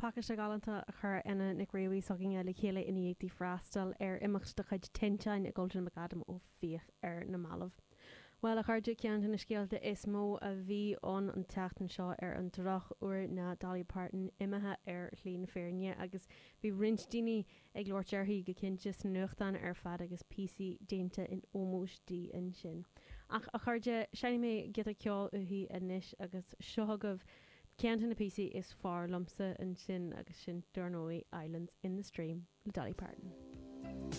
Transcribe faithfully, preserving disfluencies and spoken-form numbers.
Pacáiste galánta a chuir Anna Nic Réamhaí s'againne le chéile i ndiaidh di freastal ar imeacht de chuid Tinteán i gCultúrlann McAdam Ó Fiaich ar na mallaibh. Well a chairde ceann de na scéalta is mó a bhí ann an tseachtain seo ar an drochuair ná Dolly Parton imithe ar shlí na fírinne agus bhí roinnt daoine ag labhairt uirthi go cinnte sna nuachtáin ar fad agus píosaí déanta in ómós di ansin. Ach a chairde seinnfidh mé giota ceoil uaithi anois agus seo agaibh ceann de na píosaí is fearr liomsa ansin agus sin dar ndóigh Islands in the Stream le Dolly Parton.